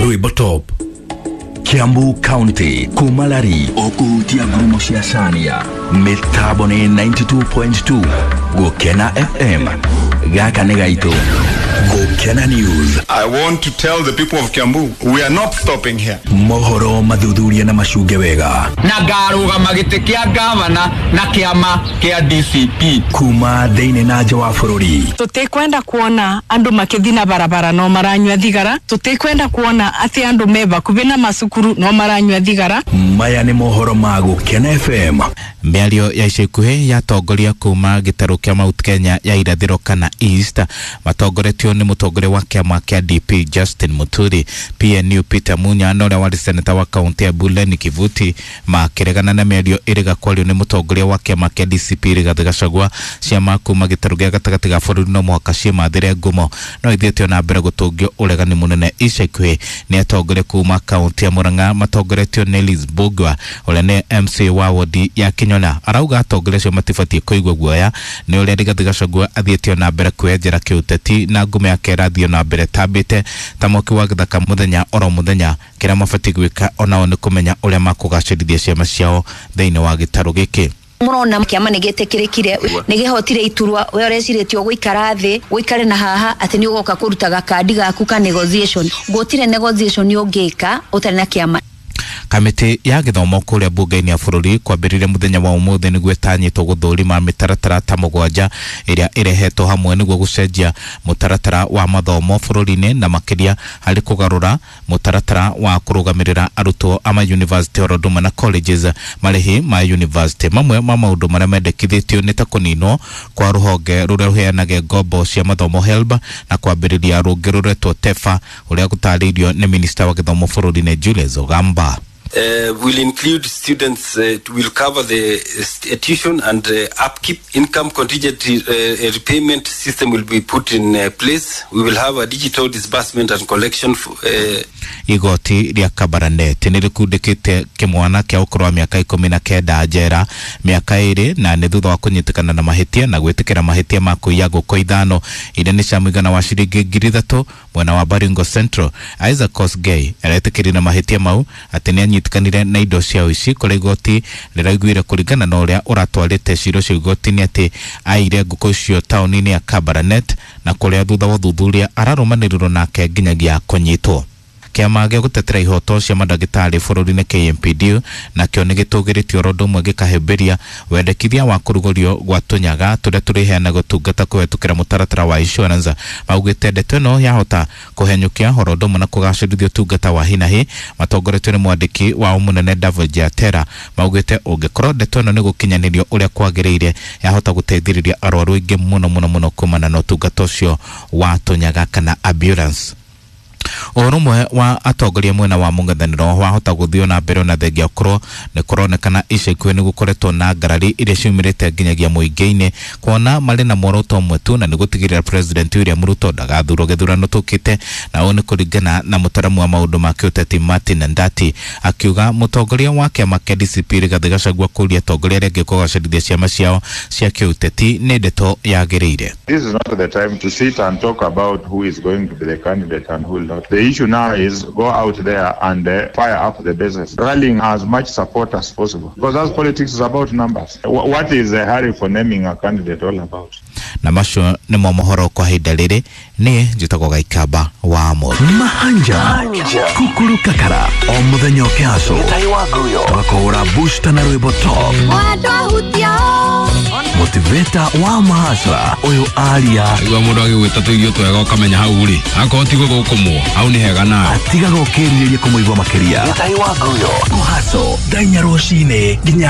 Rwimbo Top. Kiambu County kumalari okuhutia ngurumo cia Cania mitambo ni 92.2 Gukena FM. Gaka nĩ gaitũ. Gukena News. I want to tell the people of Kiambu, we are not stopping here. Mohoro mathuthuria na macunge wega. Na ngarũgama gĩtĩ kĩa gavana na kĩama kĩa DCP. Kuma thĩinĩ na nja wa bũrũri. Tũtikwenda kuona andũ makĩthi na barabara no maranyua thigara. Tũtikwenda kuona atĩ andũ me bakubi na macukuru no maranyua thigara. Maya nĩ mohoro ma Gukena FM. Mĩario ya ica ikuhĩ yatongoria kuma gĩtarũ kĩa Mount Kenya ya irathĩro kana East matongoretio nĩ mũtongoria wa kĩama kĩa DP Justin Muturi, PNU Peter Munya na ũrĩa warĩ seneta wa kaunti ya Buleni Kivuti makĩregana na mĩario ĩrĩga kwario nĩ mũtongoria wa kĩama kĩa DCP Rigathĩ Gachagua. Ciama kuma gĩtarũ gĩa gatagatĩ ga bũrũri no mũhaka ciĩmathĩre ngumo no ithiĩte na mbere gũtũngio ũregani mũnene ica ikuhĩ nĩ atongoria kuma kaunti ya Murang'a matongoretio nĩ Liz Mbugua ũrĩa nĩ MC wa wodi ya Kinyona. Arauga atongoria acio matibatiĩ kũigua guoya nĩ ũrĩa Rigathĩ Gachagua athiĩte na mbere kwĩyenjera kĩũteti na ngumo yake ĩrathiĩ na mbere tambĩte ta mwaki wa gĩthaka mũthenya oro mũthenya. Kĩrĩa mabatiĩ gwĩka onao nĩ kũmenya ũrĩa makũgacĩrithia ciama ciao thĩinĩ wa gĩtarũ gĩkĩ. Murona kiama nĩ gĩtĩkĩrĩkire nĩ gĩhotire iturwa we ũrecirĩtio gũikara thĩ ũikare na haha atĩ nĩ ũgoka kũruta gakandi gaku ka negotiation. Gũtirĩ negotiation ũngĩka ũtarĩ na kĩama. Kamĩtĩ ya gĩthomo kũrĩa mbunge-inĩ ya bũrũri kwambĩrĩria mũthenya wa ũmũthĩ nĩguo ĩtanyĩtwo gũthũrima mĩtaratara ta mũgwanja ĩrĩa ĩrehetwo hamwe nĩguo gũcenjia mũtaratara wa mathomo bũrũri-inĩ na makĩria harĩ kũgarũra mũtaratara wa kũrũgamĩrĩra arutwo a mayunivasĩtĩ oro ũndũ ũmwe na colleges. Marĩhi ma yunivasĩtĩ mamwe ma maũndũ marĩa mendekithĩtio nĩ ta kũninwo kwa rũhonge rũrĩa rũheanaga ngombo cia mathomo HELB na kwambĩrĩria rũngĩ rũretwo TEFA ũrĩa gũtarĩirio nĩ minista wa gĩthomo bũrũri-inĩ Julius Ogamba. Will include students, will cover the tuition and upkeep. Income contingent repayment system will be put in place. We will have a digital disbursement and collection. Igoti rĩa Kabarnet nĩ rĩkundĩkĩte kĩmwana kĩa ũkũrũ wa mĩaka 19 njera mĩaka 2 na nĩ thutha wa kũnyitĩkana na mahĩtia na gwĩtĩkĩra mahĩtia ma kũiya ngũkũ 5 iria nĩ cia mũigana wa ciringi 3,000 mwena wa Baringo Central. Isaac Kosgei aretĩkĩrire na mahĩtia mau atĩ nĩ anyitĩkanire na indo cia ũici kũrĩa igoti rĩraiguire kũringana na ũrĩa ũratwarĩte cira ũcio igoti-inĩ atĩ aire ngũkũ icio taũni-inĩ ya Kabarnet na kũrĩa thutha wa ũthuthuria ararũmanĩrĩrwo nake nginyagia kũnyitwo. Kĩama gĩa gũtetera ihoto cia mandagĩtarĩ bũrũri-inĩ KMPD nakĩo nĩ gĩtũgĩrĩtio oro ũndũ ũmwe gĩkahĩmbĩria wendekithia wa kũrugũrio gwa tũnyaga tũrĩa tũrĩheanaga ũtungata kũhetũkĩra mũtaratara wa insurance. Maugĩte ndeto ĩno yahota kũhenyũkia oro ũndũ ũmwe na kũgacĩrithia ũtungata wa hinahi. Matongoretio nĩ mwandĩki wao mũnene David Jatera maugĩte ũngĩkorwo ndeto ĩno nĩ gũkinyanĩrio ũrĩa kwagĩrĩire yahota gũteithĩrĩria arwaru aingĩ mũno mũno mũno kumana na ũtungata ũcio wa tũnyaga kana ambulance. Ũrũmwe wa atongoria mwena wa mũng'ethanĩro wahota gũthiĩ na mbere ona thengia ũkorwo nĩ kũronekana ica ikuhĩ nĩ gũkoretwo na ngarari iria ciumĩrĩte nginyagia mũingĩ-inĩ kuona marĩ na muoroto ũmwe tu na nĩ gũtigĩrĩra President William Ruto ndagathurwo gĩthurano tũkĩte, na ũũ nĩ kũringana na mũtaramu wa maũndũ ma kĩũteti Martin Ndati akiuga mũtongoria wa kĩama kĩa DCP Rigathĩ Gachagua kũria atongoria arĩa angĩ kũgacĩrithia ciama ciao cia kĩũteti nĩ ndeto yagĩrĩire. This is not the time to sit and talk about who is going to be the candidate and who will not. The issue now is go out there and fire up the bases, rallying as much support as possible, because as politics is about numbers. What is the hurry for naming a candidate all about? Na macio nĩmo mohoro kwa ihinda rĩrĩ. Niĩ njĩtagwo Gaikamba wa Amos. Mahanja Kukuru Kakara o mũthenya ũkĩhaco tũgakũhũra booster na rwĩmbo top motivator wa mahasra ũyũ aria igua mũndũ agĩgwĩta tũirio twega ũkamenya hau rĩ akorwo ti gũgũkũmwo hau nĩ hega nawe atigaga ũkĩrirĩria kũmũigua makĩria. Kũhaco thaa inya rũcinĩ nginya